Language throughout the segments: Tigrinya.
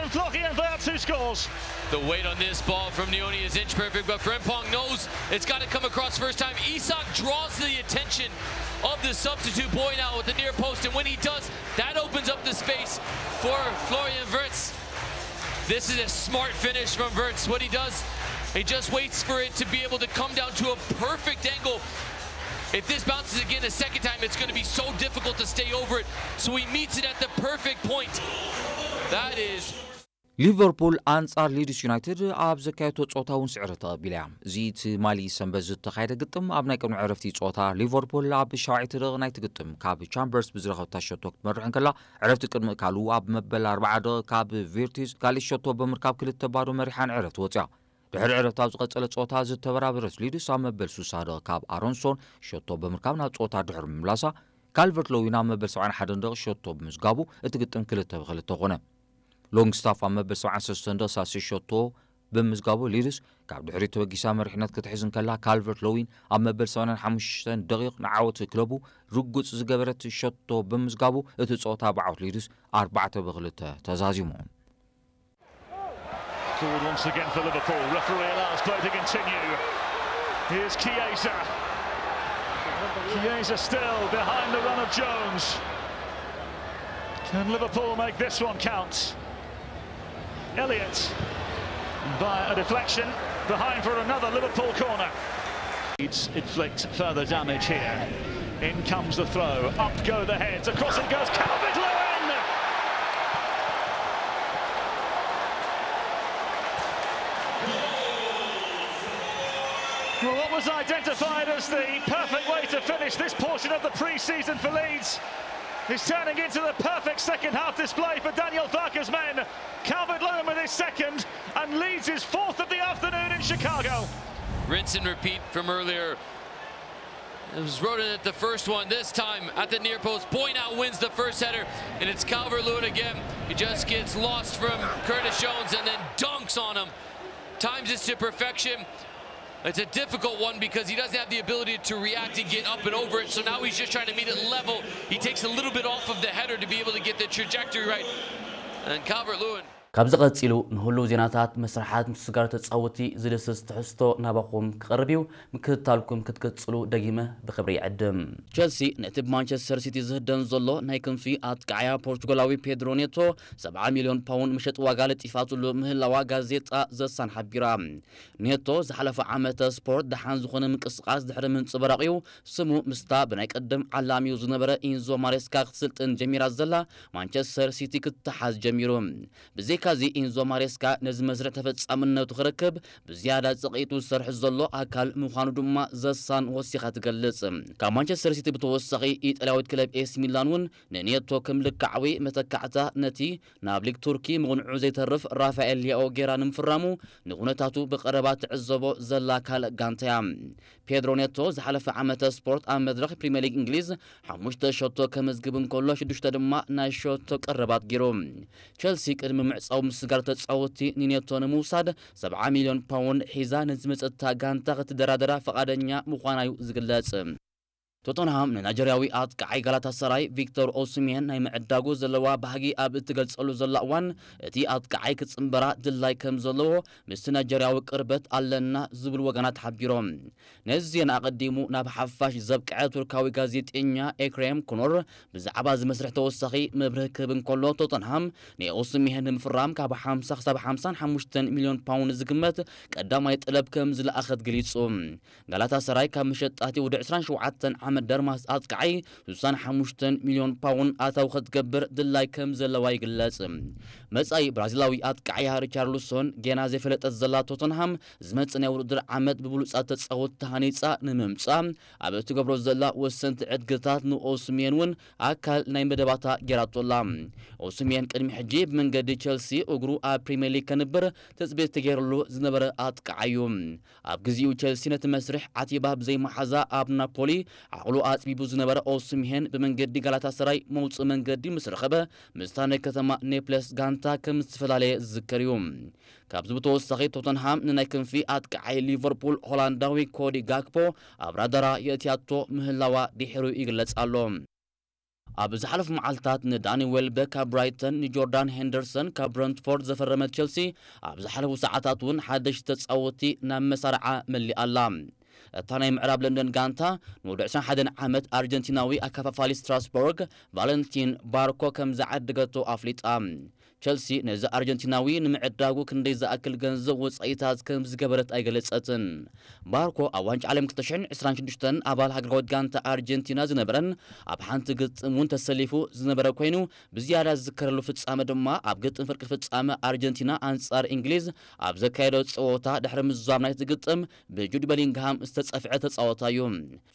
Florian Wirtz who scores. The weight on this ball from Neoni is inch perfect, but Frimpong knows it's got to come across first time. Isak draws the attention of the substitute boy now at the near post, and when he does, that opens up the space for Florian Wirtz. This is a smart finish from Wirtz. What he does, he just waits for it to be able to come down to a perfect angle. If this bounces again a second time, it's going to be so difficult to stay over it. So he meets it at the perfect point. That is ሊቨርፑል ኣንጻር ሊድስ ዩናይትድ ኣብ ዘካየቶ ጸወታ እውን ስዕረት ተቐቢላ እያ። እዚ ትማሊ ሰንበት ዝተኻየደ ግጥም ኣብ ናይ ቅድሚ ዕረፍቲ ጸወታ ሊቨርፑል ኣብ ሻውዓይቲ ደቂቕ ናይቲ ግጥም ካብ ቻምበርስ ብዝረኸብታ ሸቶ ክትመርሕ እንከላ ዕረፍቲ ቅድሚ እካሉ ኣብ መበል ኣርባዓ ደቂቕ ካብ ቪርቲዝ ካልእ ሸቶ ብምርካብ ክልተ ባዶ መሪሓ ንዕረፍቲ ወጽያ። ድሕሪ ዕረፍቲ ኣብ ዝቐጸለ ጸወታ ዝተበራበረት ሊድስ ኣብ መበል ስሳ ደቂቕ ካብ ኣሮንሶን ሸቶ ብምርካብ ናብ ጸወታ ድሕሪ ምምላሳ ካልቨርት ሎዊን ኣብ መበል ሰብዓን ሓደን ደቂቕ ሸቶ ብምዝጋቡ እቲ ግጥም ክልተ ብክልተ ኮነ። ሎንግስታፍ ኣብ መበል ሰብዓን ሰለስተን ደቂቕ ሳልሰይ ሸቶ ብምዝጋቡ ሊድስ ካብ ድሕሪት ተበጊሳ መሪሕነት ክትሕዝ እንከላ ካልቨርት ሎዊን ኣብ መበል ሰማንያን ሓሙሽተን ደቂቕ ንዓወት ክለቡ ርጉጽ ዝገበረት ሸቶ ብምዝጋቡ እቲ ጸወታ ብዓወት ሊድስ ኣርባዕተ ብክልተ ተዛዚሙ። Forward once again for Liverpool. Referee allows play to continue. Here's Chiesa. Chiesa still behind the run of Jones. Can Liverpool make this one count? Elliott via a deflection behind for another Liverpool corner. Leeds inflict further damage here. In comes the throw. Up go the heads. Across it goes. Calvert Lewin! Well, what was identified as the perfect way to finish this portion of the pre-season for Leeds is turning into the perfect second half display for Daniel Farke's men. Calvert Lewin with his second, and Leeds' fourth of the afternoon in Chicago. Rinse and repeat from earlier. It was Roden at the first one. This time at the near post. Boynow wins the first header, and it's Calvert Lewin again. He just gets lost from Curtis Jones and then dunks on him. Times it to perfection. It's a difficult one because he doesn't have the ability to react and get up and over it. So now he's just trying to meet it level. He takes a little bit off of the header to be able to get the trajectory right. And Calvert Lewin. ካብዚ ቀጺሉ ንህሉው ዜናታት፣ መስርሓት ምስ ስጋር ተጻወቲ ዝድስስ ትሕዝቶ ናባኹም ክቐርብ እዩ። ምክትታልኩም ክትቅጽሉ ደጊመ ብኽብሪ ይዕድም። ቸልሲ ነቲ ብማንቸስተር ሲቲ ዝህደን ዘሎ ናይ ክንፊ ኣጥቃዓያ ፖርቹጋላዊ ፔድሮ ኔቶ ሰብዓ ሚልዮን ፓውንድ መሸጢ ዋጋ ለጢፋትሉ ምህላዋ ጋዜጣ ዘሳን ሓቢራ። ኔቶ ዝሓለፈ ዓመተ ስፖርት ደሓን ዝኾነ ምንቅስቓስ ድሕሪ ምንጽብራቕ እዩ። ስሙ ምስታ ብናይ ቀደም ዓላሚኡ ዝነበረ ኢንዞ ማሬስካ ክትስልጥን ጀሚራ ዘላ ማንቸስተር ሲቲ ክትተሓዝ ጀሚሩ። ብዘይካዚ ኢንዞ ማሬስካ ነዚ መስርሕ ተፈጻምነቱ ክረክብ ብዝያዳ ጸቒጡ ዝሰርሕ ዘሎ ኣካል ምዃኑ ድማ ዘሳን ወሲኻ ትገልጽ። ካብ ማንቸስተር ሲቲ ብተወሳኺ ኢጣልያዊት ክለብ ኤሲ ሚላን እውን ንኔቶ ከም ልክዓዊ መተካዕታ ነቲ ናብ ሊግ ቱርኪ ምቕንዑ ዘይተርፍ ራፋኤል ሊያኦ ጌራ ንምፍራሙ ንኩነታቱ ብቐረባ ትዕዘቦ ዘላ ካልእ ጋንታ እያ። ፔድሮ ኔቶ ዝሓለፈ ዓመተ ስፖርት ኣብ መድረኽ ፕሪምየር ሊግ እንግሊዝ ሓሙሽተ ሸቶ ከመዝግብ እንከሎ ሽዱሽተ ድማ ናይ ሸቶ ቀረባት ገይሩ። ቸልሲ ቅድሚ ምዕጻው ምስጋር ተጻወትቲ ንኔቶ ንምውሳድ ሰብዓ ሚልዮን ፓውንድ ሒዛ ንዝመጸታ ጋንታ ክትደራደራ ፈቓደኛ ምዃና እዩ ዝግለጽ። ቶተንሃም ንናይጀርያዊ ኣጥቃዓይ ጋላታሳራይ ቪክቶር ኦስሜን ናይ ምዕዳጉ ዘለዋ ባህጊ ኣብ እትገልጸሉ ዘላ እዋን፣ እቲ ኣጥቃዓይ ክጽንበራ ድላይ ከም ዘለዎ ምስቲ ናይጀርያዊ ቅርበት ኣለና ዝብሉ ወገናት ሓቢሮም። ነዚ ዜና ኣቐዲሙ ናብ ሓፋሽ ዘብቅዐ ቱርካዊ ጋዜጠኛ ኤክሬም ኩኖር ብዛዕባ እዚ መስርሕ ተወሳኺ መብርሂ ክህብ እንከሎ፣ ቶተንሃም ንኦስሜን ንምፍራም ካብ ሓምሳ ክሳብ ሓምሳን ሓሙሽተን ሚልዮን ፓውንድ ዝግመት ቀዳማይ ጠለብ ከም ዝለኣኸት ገሊጹ። ጋላታሳራይ ካብ መሸጣ እቲ ወዲ ዕስራን ሸውዓተን ዓመት ደርማስ ኣጥቃዓይ ስሳን ሓሙሽተን ሚልዮን ፓውንድ ኣታዊ ክትገብር ድላይ ከም ዘለዋ ይግለጽ። መጻኢ ብራዚላዊ ኣጥቃዓያ ሪቻርልሶን ጌና ዘይፈለጠት ዘላ ቶተንሃም ዝመጽእ ናይ ውድድር ዓመት ብብሉጻት ተጻወትቲ ተሃኒጻ ንምምጻእ ኣብ እትገብሮ ዘላ ወሰንቲ ዕድግታት ንኦስሜን እውን ኣካል ናይ መደባታ ጌራቶ ኣላ። ኦስሜን ቅድሚ ሕጂ ብመንገዲ ቸልሲ እግሩ ኣብ ፕሪምየር ሊግ ከንብር ትጽቢት ተገይርሉ ዝነበረ ኣጥቃዓዩ። ኣብ ግዜኡ ቸልሲ ነቲ መስርሕ ዓቲባ ብዘይመሓዛ ኣብ ናፖሊ ዓቕሉ ኣጽቢቡ ዝነበረ ኦስምሄን ብመንገዲ ጋላታሰራይ መውጽኢ መንገዲ ምስ ረኸበ ምስታ ናይ ከተማ ኔፕለስ ጋንታ ከም ዝተፈላለየ ዝዝከር እዩ። ካብዚ ብተወሳኺ ቶተንሃም ንናይ ክንፊ ኣጥቃዓይ ሊቨርፑል ሆላንዳዊ ኮዲ ጋክፖ ኣብ ራዳራ የእትያቶ ምህላዋ ድሒሩ ይግለጽ ኣሎ። ኣብ ዝሓለፉ መዓልታት ንዳኒ ዌልበክ ካብ ብራይተን፣ ንጆርዳን ሄንደርሰን ካብ ብረንትፎርድ ዘፈረመት ቸልሲ፣ ኣብ ዝሓለፉ ሰዓታት እውን ሓደሽቲ ተጻወትቲ ናብ መሳርዓ መሊኣ ኣላ። እታ ናይ ምዕራብ ለንደን ጋንታ፣ ንወዲ ዕስራን ሓደን ዓመት ኣርጀንቲናዊ ኣከፋፋሊ ስትራስቦርግ ቫለንቲን ባርኮ ከም ዝዓደገቶ ኣፍሊጣ። ቸልሲ ነዚ ኣርጀንቲናዊ ንምዕዳጉ ክንደይ ዝኣክል ገንዘብ ወጻኢታት ከም ዝገበረት ኣይገለጸትን። ባርኮ ኣብ ዋንጫ ዓለም ክልተ ሽሕን ዕስራን ሽዱሽተን ኣባል ሃገራዊት ጋንታ ኣርጀንቲና ዝነበረን ኣብ ሓንቲ ግጥም እውን ተሰሊፉ ዝነበረ ኮይኑ፣ ብዝያዳ ዝዝከረሉ ፍጻመ ድማ ኣብ ግጥም ፍርቂ ፍጻመ ኣርጀንቲና ኣንጻር እንግሊዝ ኣብ ዘካየዶ ጸወታ ድሕሪ ምዝዛም ናይቲ ግጥም ብጁድ በሊንግሃም ዝተጸፍዐ ተጻዋታይ እዩ።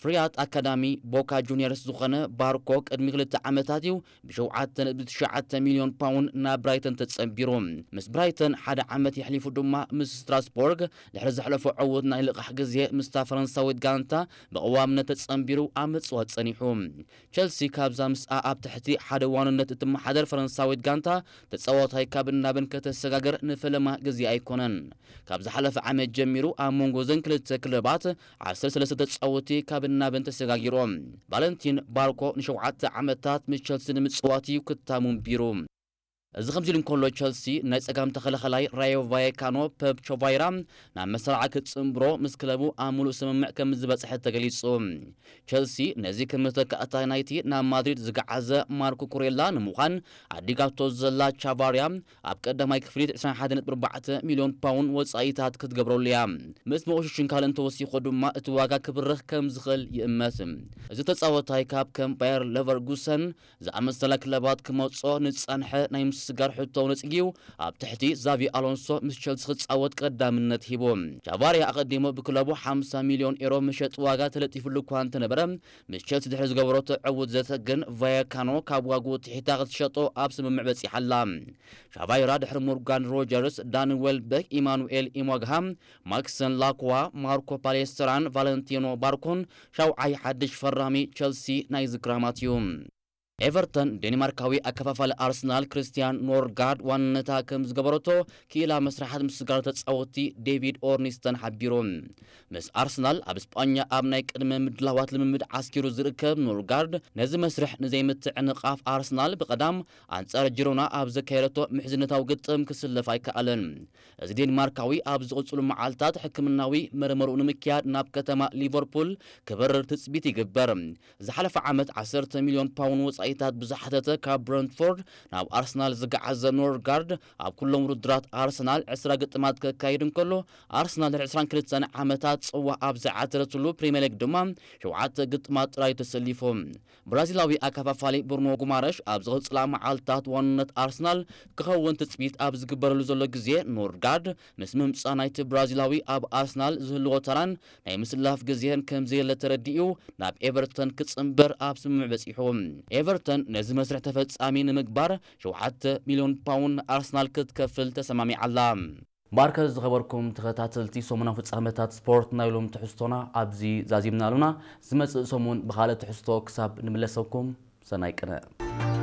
ፍርያት ኣካዳሚ ቦካ ጁኒየርስ ዝኾነ ባርኮ ቅድሚ ክልተ ዓመታት እዩ ብሸውዓተ ነጥቢ ትሽዓተ ሚልዮን ፓውንድ ናብ ብራይተን ተጸንቢሩ። ምስ ብራይተን ሓደ ዓመት የሕሊፉ ድማ ምስ ስትራስቦርግ ድሕሪ ዘሕለፎ ዕዉት ናይ ልቓሕ ግዜ ምስታ ፈረንሳዊት ጋንታ ብቐዋምነት ተጸንቢሩ ኣብ ምጽዋት ጸኒሑ። ቸልሲ ካብዛ ምስኣ ኣብ ትሕቲ ሓደ ዋንነት እትመሓደር ፈረንሳዊት ጋንታ ተጻዋታይ ካብን ናብን ከተሰጋግር ንፈለማ ግዜ ኣይኮነን። ካብ ዝሓለፈ ዓመት ጀሚሩ ኣብ መንጎ እዘን ክልተ ክለባት ዓሰርተ ሰለስተ ተጻወትቲ ካብን ናብን ተሰጋጊሮም። ቫለንቲን ባርኮ ንሸውዓተ ዓመታት ምስ ቸልሲ ንምጽዋት እዩ ክታሙ ኣንቢሩ። እዚ ከምዚ ኢሉ እንከሎ፣ ቸልሲ ናይ ጸጋም ተኸላኸላይ ራዮ ቫየካኖ ፐፕ ቾቫይራ ናብ መሰራዓ ክጽንብሮ ምስ ክለቡ ኣብ ምሉእ ስምምዕ ከም ዝበጽሐ ተገሊጹ። ቸልሲ ነዚ ከም መተካእታ ናይቲ ናብ ማድሪድ ዝገዓዘ ማርኮ ኩሬላ ንምዃን ኣዲጋቶ ዘላ ቻቫርያ ኣብ ቀዳማይ ክፍሊት ዕስራን ሓደን ነጥቢ ኣርባዕተ ሚልዮን ፓውንድ ወጻኢታት ክትገብረሉ እያ። ምስ መቑሽሽን ካልእን ተወሲኹ ድማ እቲ ዋጋ ክብርኽ ከም ዝኽእል ይእመት። እዚ ተጻወታይ ካብ ከም ባየር ለቨርጉሰን ዝኣመሰላ ክለባት ክመጾ ንጸንሐ ናይ ምስጋር ሕቶ ነጺግዩ ኣብ ትሕቲ ዛቪ ኣሎንሶ ምስ ቸልሲ ክጻወት ቀዳምነት ሂቡ። ቻቫርያ ኣቐዲሙ ብክለቡ ሓምሳ ሚልዮን ኤሮ መሸጢ ዋጋ ተለጢፉሉ እኳ እንተነበረ፣ ምስ ቸልሲ ድሕሪ ዝገበረቶ ዕዉት ዘተ ግን ቫየካኖ ካብ ዋግኡ ትሒታ ክትሸጦ ኣብ ስምምዕ በጺሓ ኣላ። ሻቫይራ ድሕሪ ሞርጋን ሮጀርስ፣ ዳኒ ዌልበክ፣ ኢማኑኤል ኢሞግሃ፣ ማክሰን ላክዋ፣ ማርኮ ፓሌስትራን ቫለንቲኖ ባርኮን ሻውዓይ ሓድሽ ፈራሚ ቸልሲ ናይ ዝክራማት እዩ። ኤቨርተን ዴንማርካዊ ኣከፋፋሊ ኣርሰናል ክርስቲያን ኖርጋርድ ዋንነታ ከም ዝገበረቶ ክኢላ መስርሓት ምስጋር ተጻወትቲ ዴቪድ ኦርኒስተን ሓቢሩ። ምስ ኣርሰናል ኣብ ስጳኛ ኣብ ናይ ቅድመ ምድላዋት ልምምድ ዓስኪሩ ዝርከብ ኖርጋርድ ነዚ መስርሕ ንዘይምትዕንቓፍ ኣርሰናል ብቐዳም ኣንጻር ጅሮና ኣብ ዘካየደቶ ምሕዝነታዊ ግጥም ክስለፍ ኣይከኣለን። እዚ ዴንማርካዊ ኣብ ዝቕጽሉ መዓልታት ሕክምናዊ መርመርኡ ንምክያድ ናብ ከተማ ሊቨርፑል ክበርር ትጽቢት ይግበር። ዝሓለፈ ዓመት ዓሰርተ ሚልዮን ፓውንድ ወጻኢታት ብዝሓተተ ካብ ብረንትፎርድ ናብ ኣርሰናል ዝገዓዘ ኖርጋርድ ኣብ ኩሎም ውድድራት ኣርሰናል ዕስራ ግጥማት ከካይድ እንከሎ ኣርሰናል ድሕሪ ዕስራን ክልተን ዓመታት ጽዋእ ኣብ ዝዓተረትሉ ፕሪምየር ሊግ ድማ ሸውዓተ ግጥማት ጥራይ ተሰሊፉ። ብራዚላዊ ኣከፋፋሊ ብሩኖ ጉማረሽ ኣብ ዝቕጽላ መዓልታት ዋንነት ኣርሰናል ክኸውን ትጽቢት ኣብ ዝግበረሉ ዘሎ ግዜ ኖርጋርድ ምስ ምምጻእ ናይቲ ብራዚላዊ ኣብ ኣርሰናል ዝህልዎ ተራን ናይ ምስላፍ ግዜን ከም ዘየለ ተረዲኡ ናብ ኤቨርተን ክጽንበር ኣብ ስምምዕ በጺሑ። ኤቨርተን ነዚ መስርሕ ተፈጻሚ ንምግባር ሸውዓተ ሚልዮን ፓውንድ ኣርሰናል ክትከፍል ተሰማሚዓ ኣላ። ማርከስ ዝኸበርኩም ተኸታተልቲ ሰሙናዊ ፍጻመታት ስፖርት ናይ ሎም ትሕዝቶና ኣብዚ ዛዚምና ኣሉና። ዝመጽእ ሰሙን ብኻልእ ትሕዝቶ ክሳብ ንምለሰኩም ሰናይ ቅነ።